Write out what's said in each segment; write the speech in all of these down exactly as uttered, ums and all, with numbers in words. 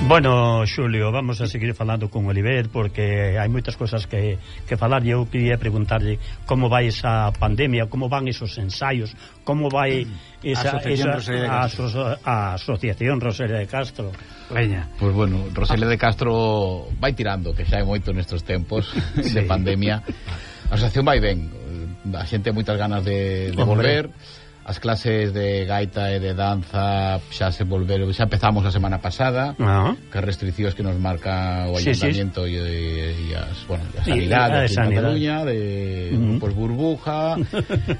Bueno, Xulio, vamos a seguir falando con Oliver porque hai moitas cosas que, que falar e eu queria preguntarlle como vai esa pandemia, como van esos ensaios, como vai esa, Asociación esa Rosalía de a, Castro. a Asociación Rosalía de Castro. Veña. Pois pues bueno, Rosalía de Castro vai tirando, que xa é moito nestes tempos sí. de pandemia. A asociación vai ben, a xente ten moitas ganas de, de volver. As clases de gaita e de danza xa se volveron, xa empezamos a semana pasada, uh-huh. que as restriccións que nos marca o Ayuntamiento sí, sí. e, e as, bueno, a sanidade de Cataluña, de uh-huh. pues, burbuja,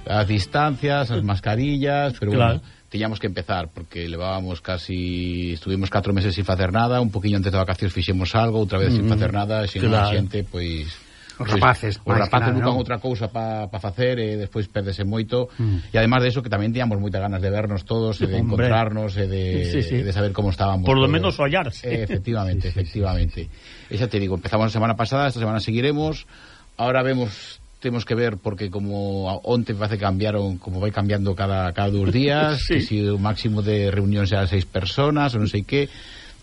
as distancias, as mascarillas, pero claro. bueno, tiñamos que empezar porque levábamos casi, estuvimos catro meses sin facer nada, un poquinho antes de vacacións fixemos algo, outra vez uh-huh. sin facer nada, sin claro. a xente, pois os rapaces, pues, os rapaces buscan outra cousa para pa facer e despois perdese moito mm. e ademais de eso que tamén tiñamos moitas ganas de vernos todos e de Hombre. encontrarnos e de, sí, sí. de saber como estábamos por lo todos. menos ollarse eh, efectivamente, sí, sí, efectivamente sí. Esa te digo, empezamos la semana pasada, esta semana seguiremos, ahora vemos temos que ver porque como onte parece que cambiaron, como vai cambiando cada, cada dos días sí. que si o máximo de reunións será seis personas ou non sei que.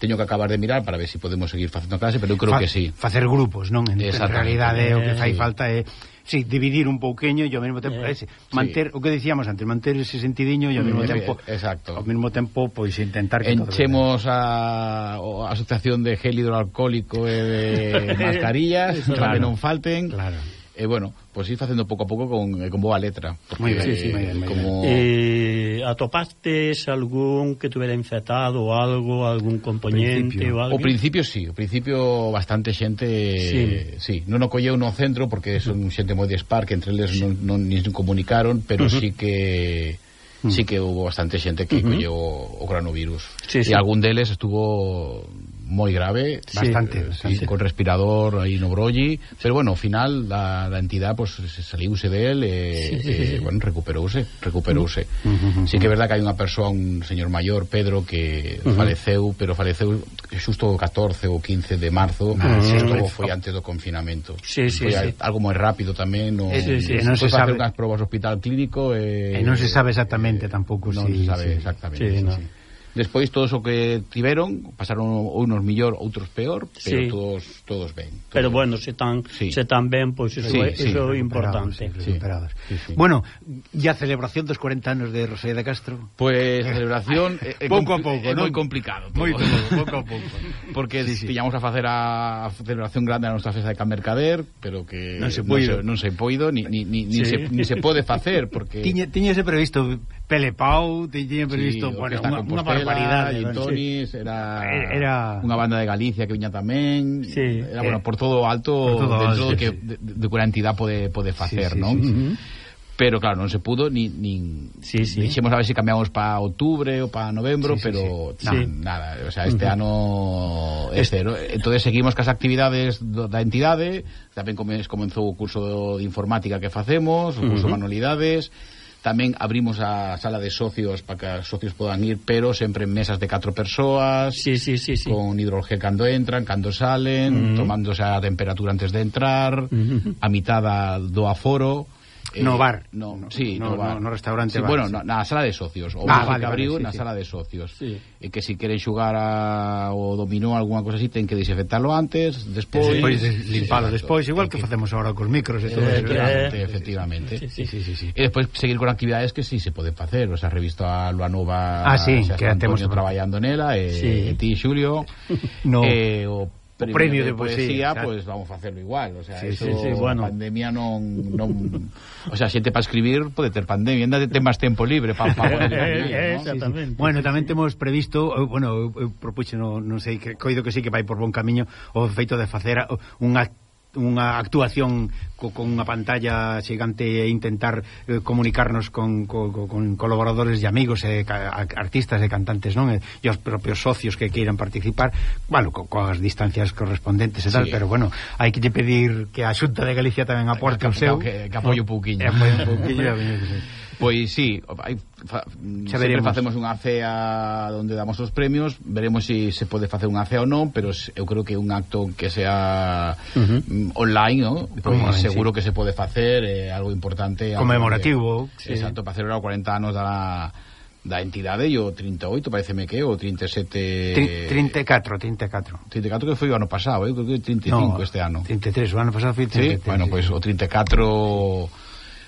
Teño que acabar de mirar para ver se si podemos seguir facendo clase, pero eu creo Fa que sí. Facer grupos, non? En, en realidade o que fai sí. falta é sí, dividir un pouquinho e ao mesmo tempo eh, ese, manter, sí. o que dicíamos antes, manter ese sentidiño e ao mesmo mm, tempo exacto. ao mesmo tempo pois intentar que enchemos a, a asociación de gel hidroalcohólico e de mascarillas para claro. que non falten. Claro. E eh, bueno, pois pues ir facendo pouco a pouco con, con boa letra. Moi ben, sí, sí, moi ben, como... eh, atopastes algún que tuvera infectado ou algo, algún componente ou algo? O principio sí, o principio bastante xente sí, sí. non o colleu no centro porque son xente moi dispar que entre eles sí. non, non nin comunicaron, pero uh-huh. sí que uh-huh. sí que hubo bastante xente que uh-huh. colleu o, o coronavirus sí, sí. e algún deles estuvo moi grave, bastante, sí, bastante. Sí, con respirador aí no brolli, pero bueno, ao final da, da entidade pues, saliuse del e, sí, sí, sí. e bueno, recuperouse, recuperouse. Uh -huh. Sí que é verdad que hai unha persoa, un señor maior, Pedro, que uh -huh. faleceu, pero faleceu xusto o catorce ou quince de marzo, uh -huh. isto foi antes do confinamento. Sí, sí, foi sí. algo moi rápido tamén, no, sí, sí, non se sabe unhas probas no hospital clínico e, e non se sabe exactamente eh, tampouco non si, se sabe sí. exactamente. Sí, sí, no. sí. Despois todos o que tiveron pasaron unos mellor, outros peor, pero sí. todos todos ben. Todos pero ben. bueno, se tan sí. se tan ben, pois pues, iso é sí, sí, iso é importante. Sí, sí. Sí, sí. Bueno, e a celebración dos cuarenta anos de Rosalía de Castro? Pues a celebración é, é pouco a pouco, é non? moi complicado. Moi pouco a pouco. Porque sí, sí. tiñamos a facer a celebración grande a nosa festa de Can Mercader, pero que non se poido, non se, non se poido ni ni ni, sí. ni se ni se pode facer porque tiña tiñase previsto Pelepau, tiña previsto, sí, bueno, unha, unha barbaridade, Tonis, era, era unha banda de Galicia que viña tamén, sí, era, bueno, eh, por todo alto, por todo dentro alto, do que sí. de, de que a entidade pode, pode facer, sí, sí, non? Sí, sí. Uh -huh. Pero claro, non se pudo ni, ni sí, sí. dixemos a ver se si cambiamos para outubro ou para novembro, sí, sí, pero sí. Na, Sí. nada, o sea, este uh -huh. ano é cero. Entonces seguimos cas actividades do, da entidade, tamén comenzou o curso de informática que facemos, o curso uh -huh. de manualidades. Tamén abrimos a sala de socios para que os socios podan ir, pero sempre en mesas de catro persoas, sí, sí, sí, sí. con hidrogel cando entran, cando salen, uh -huh. tomándose a temperatura antes de entrar, uh -huh. a mitad do aforo. Eh, no bar, no, sí, no, no, bar. no, no restaurante, sí, bar, bueno, sí. na, na sala de socios, o ah, vale, vale, abriu vale, sí, na sí. sala de socios. Sí. E que si queren xugar a, o dominó algunha cosa así, ten que desinfectarlo antes, despois, despois limpalo despois, igual que, que facemos agora cos micros e todo eh, eso. Eh, efectivamente. Sí, sí, sí, sí, sí. E despois seguir con actividades que sí se poden facer, o sea, revisto a Lua Nova, ah, sí, o sea, que temos traballando nela, e, sí. e ti, Xulio, no. e o premio, premio de, de poesía, sí, pues vamos a hacerlo igual, o sea, sí, eso, sí, sí, bueno. a pandemia non, non o sea, xente para escribir pode ter pandemia, ainda ten máis tempo libre para pa poder escribir, ¿no? Exactamente. Sí, sí. Bueno, tamén temos previsto, bueno, eu propuxo, non, non sei, que coido que sí que vai por bon camiño o feito de facer unha unha actuación co, con unha pantalla xigante e intentar eh, comunicarnos con, con, con colaboradores e amigos e ca, artistas e cantantes, non? E, e os propios socios que queiran participar, bueno, co, coas distancias correspondentes e tal, sí. Pero bueno, hai que lle pedir que a Xunta de Galicia tamén aporte o seu, que, que apoie un pouquiño. Que apoie un pouquiño. Pois sí, hai, fa, sempre facemos unha cea onde damos os premios, veremos se si se pode facer unha cea ou non, pero eu creo que un acto que sea uh -huh. online, ¿no? Pois online, seguro sí. que se pode facer, é eh, algo importante, conmemorativo, que, sí. Exacto, para celebrar os cuarenta anos da da entidade e o trinta e oito, pareceme que o trinta e sete... trinta e catro, trinta e catro. trinta e catro que foi o ano pasado, eu creo que trinta e cinco no, este ano. trinta e tres, o ano pasado foi trinta e tres. Sí, bueno, pois pues, o trinta e catro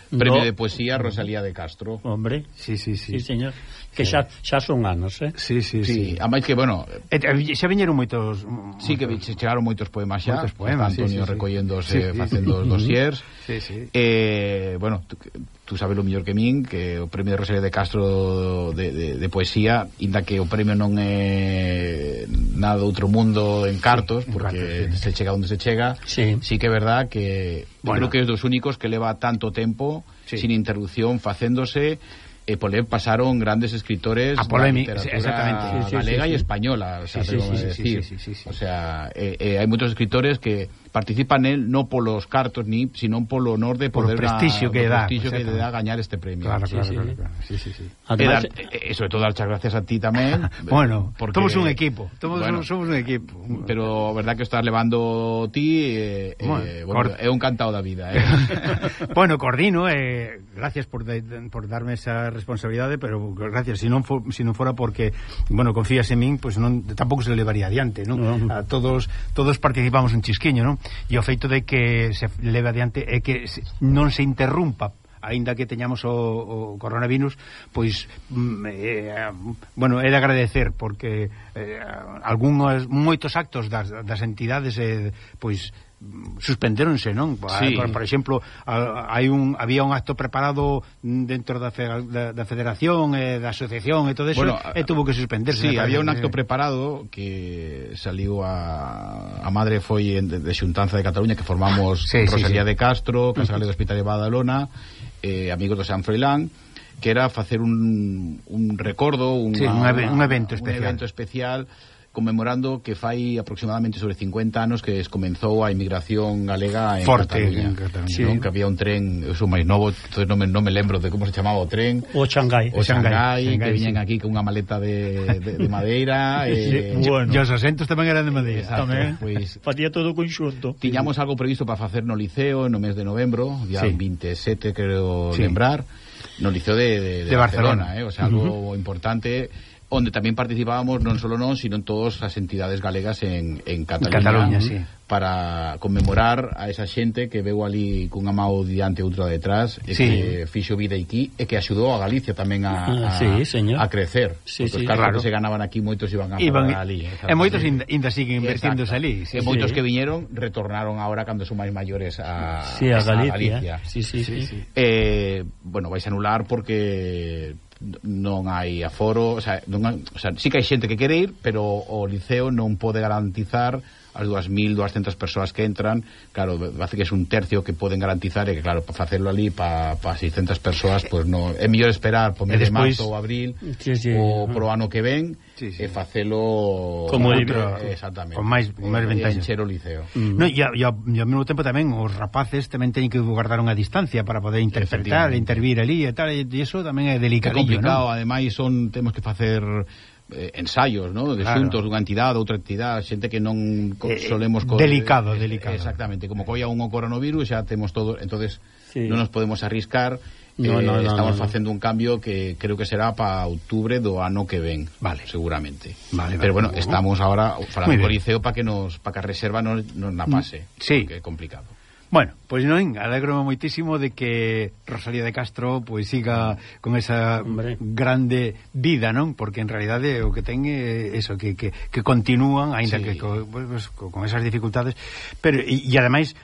premio no. de poesía Rosalía de Castro. Hombre, sí, sí, sí. Sí, señor. Que xa, xa son anos, eh? Sí, sí, sí. sí. A máis que, bueno... E, xa viñeron moitos... Sí, que chegaron moitos poemas xa. Moitos poemas, Antonio sí, sí, recollendose, sí, sí. facendo os dossiers. Sí, sí. Eh, bueno, tú, tú sabes lo mellor que min, que o premio de Rosalía de Castro de, de, de poesía, inda que o premio non é nada de outro mundo en cartos, sí, porque en cartos, sí. se chega onde se chega, sí, sí que é verdad que bueno. creo que é dos únicos que leva tanto tempo, sí. sin interrupción, facéndose... E por él pasaron grandes escritores a polémica, sí, exactamente, sí, galega sí, sí, y española, o sea, sí, sí, sí, decir. Sí, sí, sí, sí. O sea, eh, eh, hay muchos escritores que participan en él no por los cartos ni sino por lo honor de por poder el prestigio a, que da, prestigio que le da ganar este premio. Claro, sí, claro, sí, claro, sí. claro. Sí, sí, sí. Además, eh, eh, sobre todo dar muchas gracias a ti también. Bueno, porque, somos un equipo, somos, bueno, somos un equipo. Pero verdad que estás levando ti eh, bueno, eh, bueno, é un cantado da vida, eh. Bueno, coordino, eh, gracias por de, por darme esa responsabilidade, pero gracias, si non for, si non fora porque, bueno, confías en min, pois pues non tampouco se levaría adiante, non? No. A todos todos participamos un chisquiño, non? E o feito de que se leve adiante é que non se interrumpa aínda que teñamos o, o coronavirus, pois eh, bueno, é de agradecer porque eh, algúns moitos actos das, das entidades eh, pois suspendéronse, non? Sí. Por, por exemplo, hai un había un acto preparado dentro da, fe, da, da federación, eh, da asociación e todo eso, bueno, e tuvo que suspenderse. Sí, había un acto preparado que saliu a, a madre foi de, de Xuntanza de Cataluña que formamos sí, Rosalía sí, sí. de Castro, Casal uh -huh. de Hospital de Badalona, eh, amigos de San Froilán, que era facer un, un recordo, una, sí, un, un evento especial. Un evento especial conmemorando que fai aproximadamente sobre cincuenta anos que comenzou a inmigración galega en Forte, Cataluña, en Cataluña. Sí. Non? Que había un tren, eu sou máis novo, entonces non me, non me lembro de como se chamaba o tren. O Xangai. O Xangai, que viñen sí. aquí con unha maleta de, de, de madeira. eh, sí, bueno. E os asentos tamén eran de madeira. Exacto, tamén, pues, facía todo conxunto. Tiñamos algo previsto para facer no Liceo no mes de novembro, día sí. veintisiete, creo sí. lembrar, no Liceo de, de, de, de Barcelona, Barcelona eh? O sea, algo uh -huh. importante, onde tamén participábamos non solo non, sino en todas as entidades galegas en, en Cataluña, Cataluña sí. para conmemorar a esa xente que veu ali cunha mão diante e outra detrás e sí. que fixo vida aquí e que axudou a Galicia tamén a, a, sí, señor. a crecer, sí, porque sí, os carros claro. que se ganaban aquí moitos iban a iban, parar ali, e moitos ainda siguen invertiéndose ali sí, e moitos sí. que viñeron retornaron agora cando son máis maiores a, sí, a Galicia, a Galicia. Sí, sí, sí, sí. Sí. Eh, bueno, vais a anular porque non hai aforo, o sea, non hai, o sea, sí que hai xente que quere ir, pero o Liceo non pode garantizar as dúas mil doscientas persoas que entran. Claro, hace que é un tercio que poden garantizar e que claro, para facerlo ali para pa seiscentas persoas, pues no, é mellor esperar por mes de marzo ou abril sí, sí, ou pro ano que ven sí, sí. e facelo como outro, exactamente, con máis máis ventañas, encher o Liceo. Mm. No, e, e, ao mesmo tempo tamén os rapaces tamén teñen que guardar unha distancia para poder interpretar, intervir ali e tal, e iso tamén é delicadillo, é complicado, ¿no? Ademais son temos que facer Eh, ensaios, ¿no? De claro. xuntos dunha entidade, outra entidade, xente que non co, eh, solemos co, delicado, eh, delicado. Exactamente, como coia un coronavirus, xa temos todo, entonces sí. non nos podemos arriscar. No, eh, no, no, estamos no, no. facendo un cambio que creo que será para outubro do ano que ven, vale. seguramente. Vale, Pero vale, bueno, estamos ahora falando co Liceo para que nos para que a reserva non nos na pase, sí. que é complicado. Bueno, pois pues non, alegro moitísimo de que Rosalía de Castro pois pues, siga con esa Hombre. grande vida, non? Porque en realidade o que ten é eso, que, que, que continúan, aínda sí. que co, pues, con esas dificultades, pero e, e ademais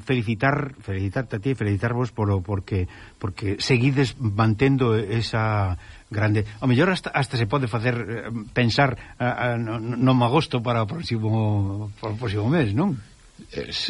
felicitar felicitarte a ti, felicitarvos por, porque porque seguides mantendo esa grande, ao mellor hasta, hasta se pode facer pensar a, a, no, no agosto para o próximo para o próximo mes, non?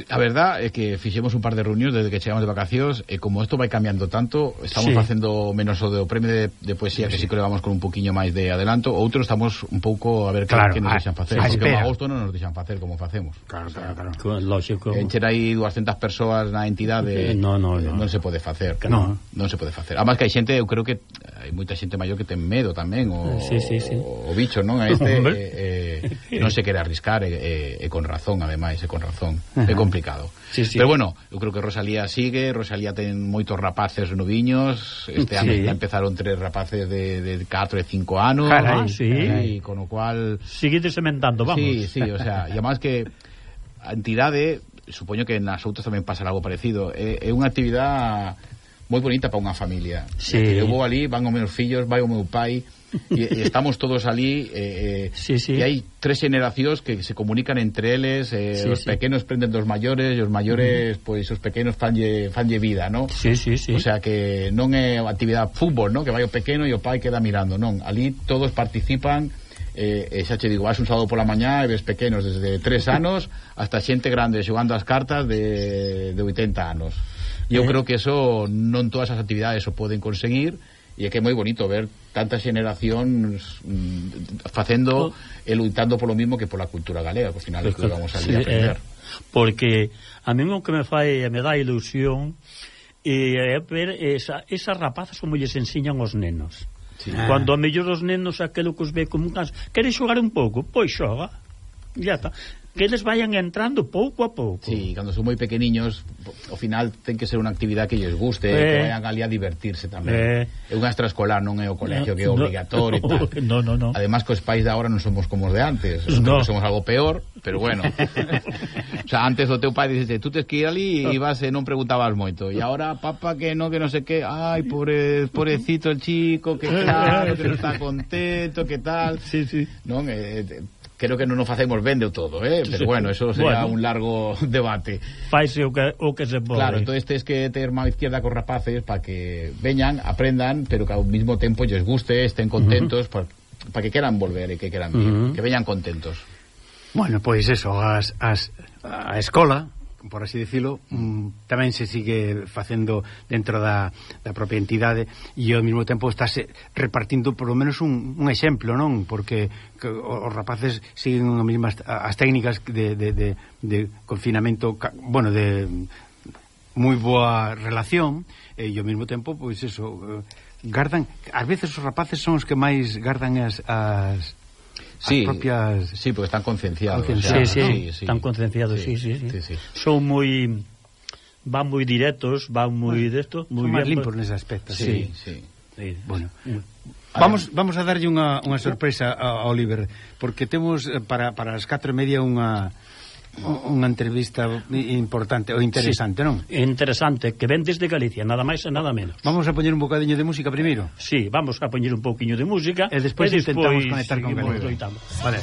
A verdad é que fixemos un par de reunións desde que chegamos de vacacións e como isto vai cambiando tanto, estamos sí. facendo menos o do premio de, de poesía sí. que sí que levamos con un poquinho máis de adelanto, outros estamos un pouco a ver claro, que, que nos deixan facer, a, porque en agosto non nos deixan facer como facemos. Claro, claro, claro. Lógico. Encher aí doscientas persoas na entidade no, no, no. non se pode facer. No. Non se pode facer. Además que hai xente, eu creo que hai moita xente maior que ten medo tamén o, sí, sí, sí. o, o bicho, non? A este eh, eh, non se quere arriscar e, e, e con razón, ademais, e con razón. Uh-huh. É complicado. Sí, sí. Pero bueno, eu creo que Rosalía sigue, Rosalía ten moitos rapaces noviños, este ano sí. empezaron tres rapaces de, de catro e cinco anos. Carai, sí. E con o cual... Sigue sementando, vamos. Sí, sí, o sea, e además que a entidade, supoño que nas outras tamén pasará algo parecido, é, é unha actividade moi bonita para unha familia. Sí. Eu vou ali, van os meus fillos, vai o meu pai, e, e estamos todos ali, eh, sí, sí. e hai tres generacións que se comunican entre eles, eh, sí, os sí. pequenos prenden dos maiores, e os maiores, mm. pois os pequenos fanlle, fanlle vida, ¿no? Sí, sí, sí. O sea que non é actividade fútbol, ¿no? Que vai o pequeno e o pai queda mirando, non. Ali todos participan. Eh, e xa che digo, vas un sábado pola mañá e ves pequenos desde tres anos hasta xente grande xogando as cartas de, de oitenta anos. E eu eh. creo que eso non todas as actividades o poden conseguir, e é que é moi bonito ver tantas generacións mm, facendo oh. e lutando polo mismo que pola cultura galega, que ao final é que vamos a sí, a aprender. Eh, porque a mí o que me fai e me dá ilusión é ver esa, esas rapazas como lles enseñan os nenos. Sí. Cando a mellor os nenos aquelo que os ve como un canso, quere xogar un pouco, pois xoga, ya está. Que eles vayan entrando pouco a pouco. Sí, cando son moi pequeniños, ao final ten que ser unha actividade que lles guste, eh, que vayan ali a divertirse tamén. Eh, é unha extraescolar, non é o colegio no, que é obligatorio no, e tal. No, no, no. Además, que os pais de agora non somos como os de antes, no. somos algo peor, pero bueno. O sea, antes o teu pai dice, tú tes que ir ali e ibas e non preguntabas moito. E agora, papá, que non, que non sei que, ai, pobre, pobrecito el chico, que claro, que non está contento, que tal. Sí, sí. Non, eh, creo que non nos facemos ben de todo, eh? Pero bueno, eso será bueno, un largo debate. Faise o que, o que se pode. Claro, entonces tens que ter má izquierda cos rapaces para que veñan, aprendan, pero que ao mismo tempo lles guste, estén contentos, uh -huh. para pa que queran volver e que queran vir, uh -huh. que veñan contentos. Bueno, pois pues eso, as, as, a escola, por así decirlo, mm, tamén se sigue facendo dentro da, da propia entidade, e ao mesmo tempo estáse repartindo por lo menos un, un exemplo, non? Porque que, os rapaces siguen as mesmas as técnicas de, de, de, de confinamento, bueno, de moi boa relación, e ao mesmo tempo, pois eso, gardan, ás veces os rapaces son os que máis gardan as, as Sí, propias... sí, porque están concienciados. Sí, o sea, sí, sí, sí, sí, están concienciados, sí, sí, sí. sí, sí. Son moi... van moi directos, van moi desto, moi son máis bien, limpos nese aspecto. Sí, sí. sí. Bueno, vamos vamos a darlle unha, unha sorpresa a Oliver, porque temos para, para as catro e media unha unha entrevista importante ou interesante, sí, non? Interesante, que ven desde Galicia, nada máis e nada menos. Vamos a poñer un bocadiño de música primeiro? Sí, vamos a poñer un pouquiño de música e despois intentamos conectar con Oliver. Vale.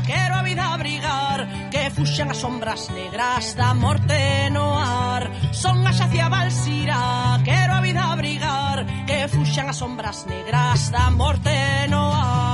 Quero a vida abrigar, que fuxan as sombras negras da morte no ar. Son a xacia Valsira, quero a vida abrigar, que fuxan as sombras negras da morte no ar.